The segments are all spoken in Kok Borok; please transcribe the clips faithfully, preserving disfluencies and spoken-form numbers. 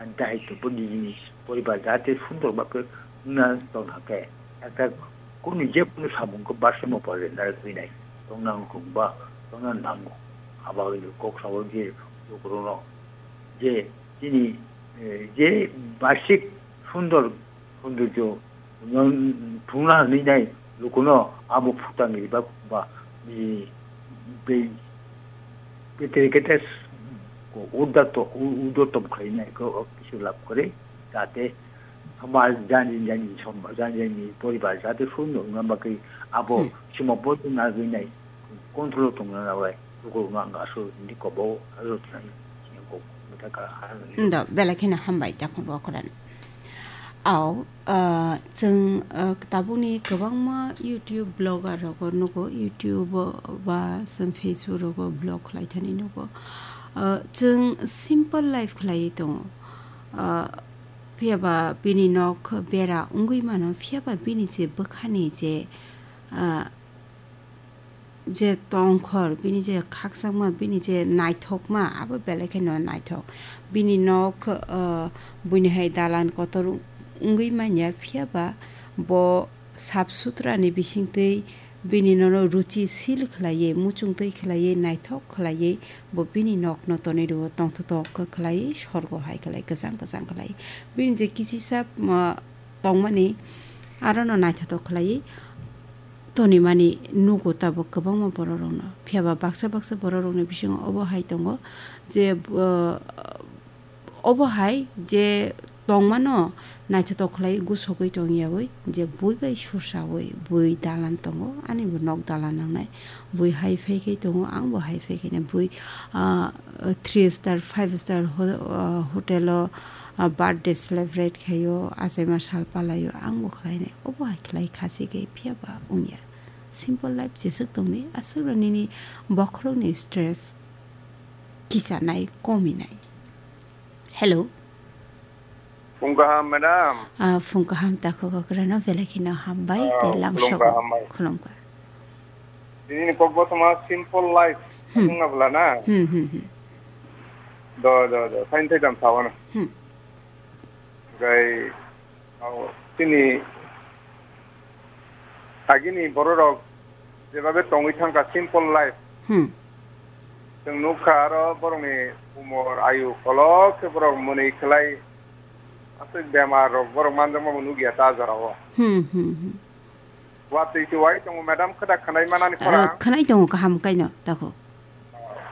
Ani dahai tongbo nini poribar jate sundor ba khe wngna tong thang khe, ekta kunu je kunu samung khe barsa mo pore na rwgwi nai, tongna wngkung ba tongna nango. Abo kok sabo je lukurokno je chini, eh, je basik sundor, sundorjo no thungna hwnwi nai lukuno abo phutang riba ba, eh, be-, betere kete ko udato, u-, udotom khlainai ko kisi lab kore, jate samaj jani jani som-, jani jani poribar jate sundor wngna bagwi abo Hmm. simo bo nagwi nai control tongna bai lukurokno ang aswk ni kobo aswk twnai sini kok mita kha. Ndo, belai kheno hambai, Jakhon Rokhoran. Au, ah, chwng, ah, tabukni kwbangma YouTube blogger rogo nugo, YouTube o ba chwng Facebook rogo blog khlai thani nugo. Ah, chwng simple life khlaiwi tongo. Ah, phiya ba bini nok bera wngwi mano, phiya ba bini je bwkhani je, ah, je tongkhor, bini je khakchangma, bini je naithokma, abo belai kheno naithok. Bini nok, ah, buini hai dalan kotor wngwi manya, phiya ba bo sap sutra ni bisingtwi bini nono ruchi sil khlaiwi, muchungtwi khlaiwi, naithok khlaiwi, bo bini nokno tonwi rwo, tongthotok khe khlaiwi, sorgo hai khlai, kwchang kwchang khlai. Bini je kisisa, ah, tongmani, arono naithotok khlaiwi tonimani nugo tabuk kwbangma bororokno. Phiya ba baksa baksa bororokni bisingo obo hai tongo je, ah, obo hai je tongmano naithotok khlai gusogwi tongyawi je bui bai sursawi bui dalan tongo, ani bo nok dalan nangnai, bui hai phai khe tongo, ang bo hai phai khe bui, ah, three star, five star ho-, ah, hotel o, ah, birthday celebrate khaio, achaima sal palaio, ang bo khlainai, obo hai khlai khasi khe phiya ba wngya. Simple life jeswk tongdi, aswk nini bokhorokni stress kichanai, kominai. Hello. Phung kaham, madam. Ah, phung kaham, takhuk okrano belai kheno hambai, ah, tei lamsok khulumkha, hambai. Khulumkha. Tini ni kok bo toma simple life. Hmm. Wngna bwla na? Hmm, hmm, hmm. Do, do, do. Sain thai dam sawana. Hmm. Gai, oh, tini agini bororok jebabe tongwi thangkha simple life. Hmm. Chwng nukha aro borokni umor ayu kolok khe borok mwnwi khlai aswk bemar rok borok manjakma bo nukya ta jora o. Hmm, hmm, hmm. Watwi se wai tongo madam khwda khwnai manani khorang. Ah, khwnai tongo kaham kaino tako.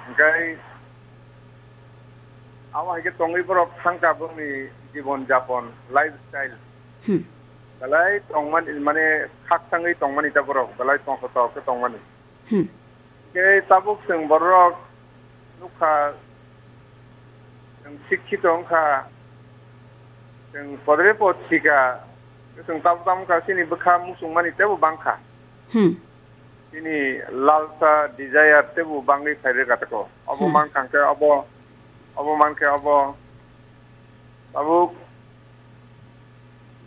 Hwnkhe abo hai khe tongwi borok thangkha borokni jibon japon, lifestyle. Hmm. Belai tongmani, mane, khakchangwi tongmani ta borok, belai tongthotok khe tongmani. Hmm. Khe tabuk chwng borok nukha, chwng sikkito wngkha, chwng podre pod sika, chwng tabuk tamo wngkha, chini bwkha muchungmani teibo bangkha. Hmm. Chini lalsa, desire teibo bangwi phai rwkha tako. Obo Hmm. mankha hwnkhe obo, obo mankhe obo. Tabuk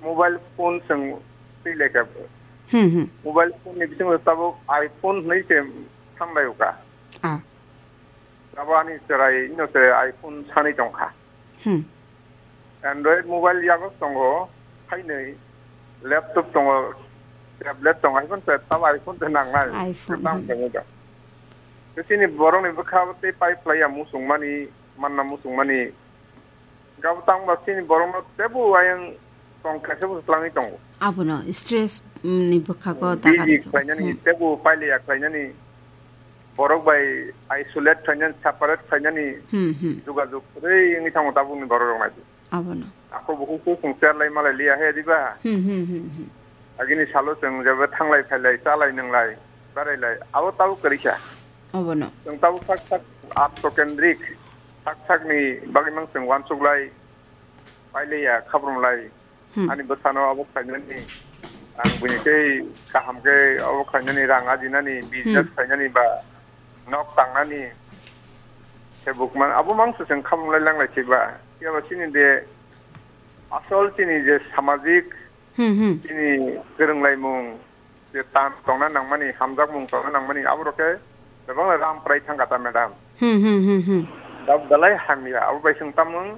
mobile phone chwng twi lai kha. Hmm, hmm. Mobile phone ni bisingo tabuk iPhone hwnwi se thanglai o kha. Ah. Abo ani chwrai no se iPhone sanwi tong kha. Hmm. Android mobile yago tongo, phainwi laptop tongo, tablet tongo, hai phano se tabuk iPhone se nangnai. iPhone, Kwbang hmm. Tongo da. Tei chini borokni bwkha tei pipe laiya muchungmani, manna muchungmani. Gabo tangba chini borokno teibo ayang tong kaisa bo twlangwi tongo. Abono stress, mm, ni bwkhago Hmm, daga busy rwkha. Khlainani, Hmm. Teibo pailiya khlainani, borok bai isolate khlainani, separate khlainani Hmm, hmm. Jogajog kwrwi wngwi thango tabukni borok rok naidi. Abono. Ako bukhuk khe chwng cherlai malai liya he diba? Hmm, hmm, hmm, hmm. Agini salo chwng jeba thanglai phailai, chalai nwnglai, berailai, abo tabuk kwrwi kha. Abono. Chwng tabuk sak sak atmo kendrik, sak sakni bagwi mang chwng uansuk lai, pailiya, khabrum lai. Hmm. Ani bwsano abo khlainani, ang buini tei kaham khe abo khlainani, rang ajinani, business Hmm. khlainani ba nok tangnani, se bukman, abo mang se chwng khabrum lai lang lai se ba. Phiya ba chini de asol chini je samajik, Hmm, hmm. Chini kwrwnglaimung, je tam tongna nangmani, hamjakmung tongna nangmani, aborok khe kwbangla ram prai thangkha ta, madam. Hmm, hmm, hmm, hmm. Da belai hamya, abo bai chwng tamung